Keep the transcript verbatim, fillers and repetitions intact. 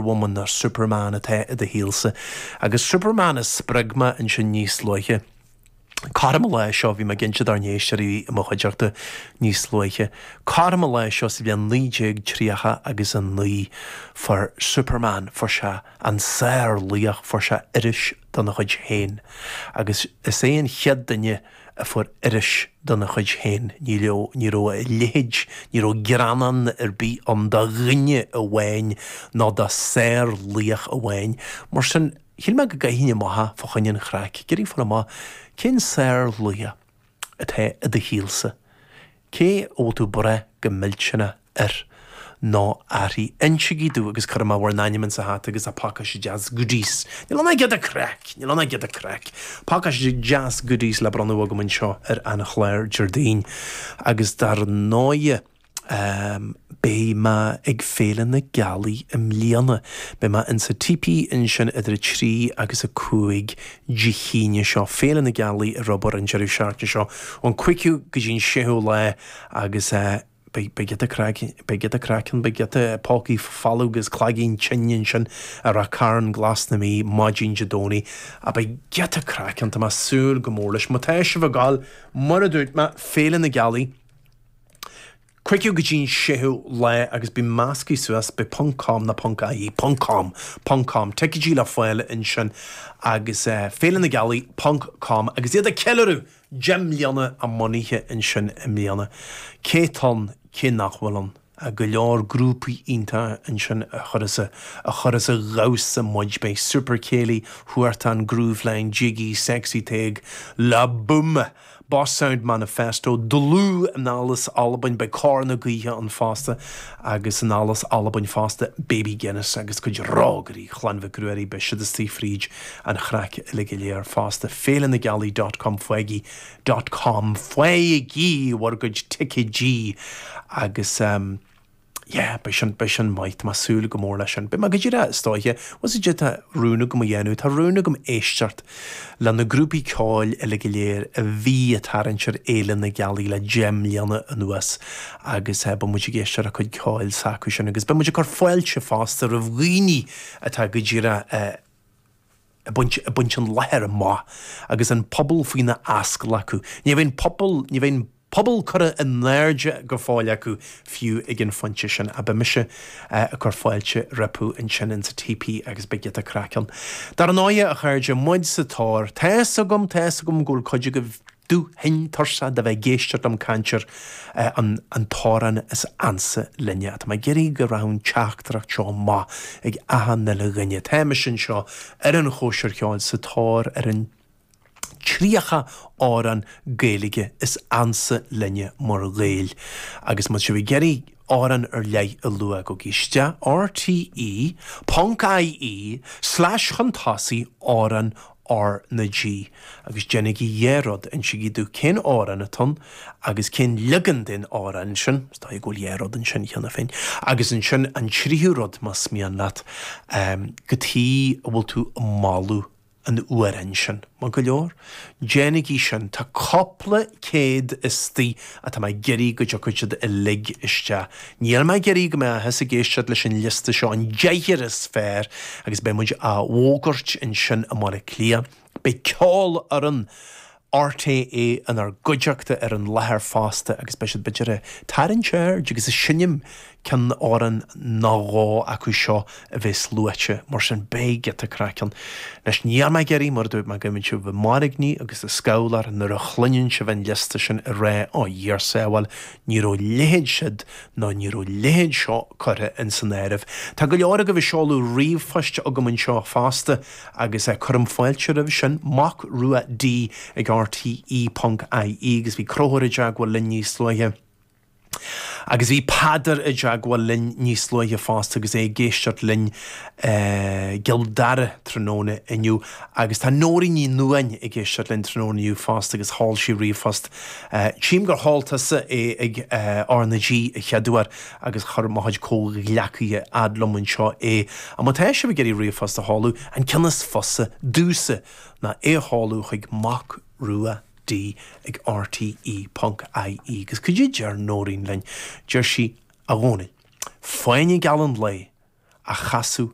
Woman nó Superman atá i do shaolsa. Agus Superman a spreag mé ansin níos luaithe. Cothrom an lae seo bhí mé ag inse dár n-éisteoirí i mo chuideachta níos luaithe. Cothrom an lae seo sa bhliain naoi déag tríocha agus a naoi fuair Superman, fuair sé an sárlaoch, fuair sé iris dona chuid féin. Agus is é an chéad duine a fuair iris dona chuid féin. Ní raibh ní raibh a leithéid, ní raibh greannán ar bith ann do dhuine amháin ná do sárlaoch amháin. Mar sin, shíl mé go gcaithfinn amach fá choinne an chraic, ag iarraidh fáil amach cén sárlaoch atá i do shaolsa. Cé a bhfuil tú ag brath go millteanach air nó uirthi? Insigí domh agus cuirfidh mé bhur n-ainm insa hata agus a pacáiste deas goodies. Níl ann ach giota craic, níl ann ach giota craic. Pacáiste deas goodies le bronnadh agam anseo ar an chlár Déardaoin. Agus dar ndóighe, Beidh mé ag Féile na Gealaí i mbliana. Beidh mé insa Teepee ansin idir a trí agus a cúig Dé hAoine seo. Féile na Gealaí ar obair an deireadh seachtaine seo, ón cúigiú go dtí an séú lá agus beidh beidh giota craic, beidh giota craic ann, beidh giota pócaí folamh agus cloigín tinn ansin i Ráth Cairn, Glas na Mí, maidin Dé Domhnaigh. Beidh giota craic ann, tá mé ag súil go mór leis. Má tá sibh ag gabháil, mar a dúirt mé, Féile na Gealaí, Cúigiú go dtí an séú lá agus beidh measctha suas, beidh ponc com nó ponc ie, ponc com, ponc com, ticéidí le fáil ansin agus Féile na Gealaí ponc com agus iad ag ceiliúradh deich mbliana a mbunaithe ansin i mbliana. Cé tá ann, cé nach bhfuil ann? Go leor grúpaí iontacha ansin a chuirfeas a, a chuirfeas a dhamhsa muid. Beidh Super Céilí, Huartan, Grooveline, Jiggy, Sexy Tadhg, La Boum! Boss Sound Manifesto, Dlúth, Anall as Albain, beidh Cor na Gaoithe ann fosta agus anall as Albain fosta, Baby Guinness agus cuid rógairí Chlann Mhic Ruairí, beidh siad istigh fríd an chraic uilig go léir fosta. Féile na Gealaí dot com faighigí dot com faighigí bhur gcuid ticéidí agus ehm yeah, beidh sin, beidh sin maith, tá mé ag súil go mór leis sin. Beidh mé go díreach istoíche, bhfuil fhios agat tá rún agam a dhéanamh, tá rún agam éisteacht le na grúpaí ceoil uile go léir a bhí ag tarraingt ar Fhéile na Gealaí le deich mbliana anuas agus eh, beidh muid ag éisteacht le cuid ceoil s'acu sin agus beidh muid ag cur fáilte fosta roimh dhaoine atá go díreach eh, ag baint, ag baint an láthair amach agus an pobal faoina ascaill acu. Ní bheidh an pobal, ní bheidh an pobal curtha in airde go fóill acu fiú ag an phointe sin. Ach beidh mise ag cur fáilte rompu ansin insa Teepee agus beidh giota craic ann. Dar ndóighe, a chairde, muid sa tóir. Tá's agam, tá's agam go bhfuil cuid agaibh dubh thinn tuirseach de bheith ag éisteacht liom caint ar an an t-amhrán is ansa linne. Tá mé ag iarraidh go rachadh an teachtaireacht seo amach ag achan uile dhuine. Tá mise anseo ar an chóisir cheoil sa tóir ar an tríocha amhrán Gaeilge is ansa linne mar Ghaeil. Agus má tá sibh ag iarraidh amhrán ar leith a lua, gabhaigí isteach rte ponc ie slash chun tosaigh amhrán R na G agus déanaigí dhá rud, insigí domh cén amhrán atá ann agus cén leagan den amhrán sin, is dóigh go bhfuil dhá rud ansin cheana féin, agus ansin an tríú rud más mian leat, cad chuige a bhfuil tú ag moladh an amhráin sin. Maith go leor? Déanaigí sin. Tá cúpla céad istigh atá mé ag iarraidh go dtiocfaidh siad uilig isteach. Níl mé ag iarraidh go mbeifeá ag éisteacht leis an liosta seo, an deichniúr is fearr, agus beidh muid á bhfógairt ansin i mBaile Átha Cliath. Beidh ceolfhoireann RTÉ inár gcuideachta ar an láthair fosta agus beidh siad b'fhéidir ag tarraingt aird agus ag seinm ceann amhrán nó dhó acu seo a bheas luaite, mar sin beidh giota craic ann. Anois níl mé ag iarraidh, mar a dúirt mé, go mbeidh sibh ag mairgní agus ag scamhlar nuair a chluineann sibh an liosta sin ag rá, Ó, Dhia ár sábháil, ní raibh a leithéid siúd ná ní raibh a leithéid seo curtha ins an áireamh. Tá go leor agaibh ag seoladh ríomhphoist chugam anseo fosta agus cuirim fáilte roimh sin, Mac Rua D ag rte ponc ie agus bhí Conchúr i dteagmháil linn níos luaithe. Agus bhí Peadar i dteagmháil linn níos luaithe fosta agus é ag éisteacht linn i gCill Dara tráthnóna inniu. Agus tá Nóirín Ní Nuadháin ag éisteacht linn tráthnóna inniu fosta agus sheol sí ríomhphost. Tchím gur sheol tusa é ag R na G a chéaduair agus chuir mo chuid comhghleacaithe fhad liom anseo é. Ach má tá sibh ag iarraidh ríomhphost a sheoladh, an ceann is fusa domhsa ná é a sheoladh chuig Mac Rua D ag rte ponc ie agus cad é deir Nóirín linn? Deir sí, A Dhónaill, fáinne geal an lae a chasadh